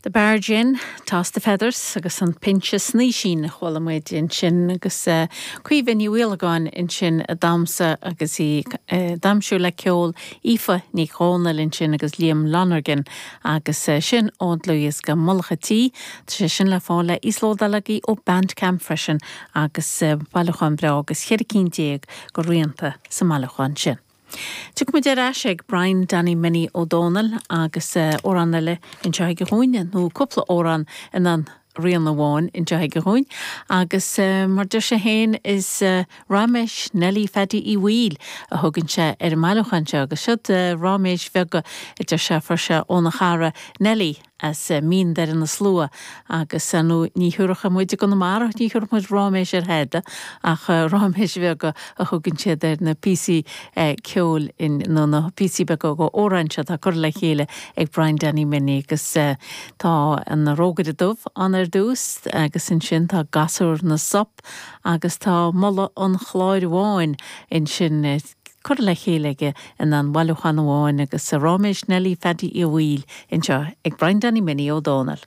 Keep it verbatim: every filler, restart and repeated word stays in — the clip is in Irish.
The Barge Inn, Toss the Feathers agus an Pinse Snaoisín a chuala muid ansin agus uh, Caoimhe Ní Mhaolagáin ansin ag damhsa agus í uh, damhsa le ceol Aoife Ní Chónaill ansin agus Liam Lonergan agus uh, sin ón dlúthdhiosca Mullach an Tí, Tá sé sin le fáil le íoslódáil ó Bandcamp freisin agus uh, bailiúchán breá agus ceithre cinn déag de rianta sa mbailiúchán sin. Tiocfaidh muid ar ais ag Brian Danny Minnie Ó Dónaill agus amhrán eile anseo aige dhúinn nó cúpla amhrán in an rian amháin anseo aige dhúinn agus uh, mar deir sé féin is uh, Raiméis Neilí Pheaidí Uí Bhaoill a thugann sé ar an mbailiúchán seo agus siod uh, raiméis bheaga a deir sé fuair sé óna chara Neilí as uh, Mín Doire na Slua agus uh, nó ní thabharfadh muid go na mar ní thabharfadh muid raiméis ar tada ach uh, raiméis bheaga a thugann siad ar na píosaí uh, ceoil in nó na píosaí beaga d'amhráin seo atá curtha le chéile ag Brian Danny Minnie agus uh, tá an Rógaire Dubh an ar dtús agus ansin tá Gasúr na Sop agus tá Moladh an Chláir Bháin ansin uh, curtha le chéile aige in an bhailiúchán amháin agus sa Raiméis Neilí Pheaidí Uí Bhaoill anseo ag Brian Danny Minnie Ó Dónaill.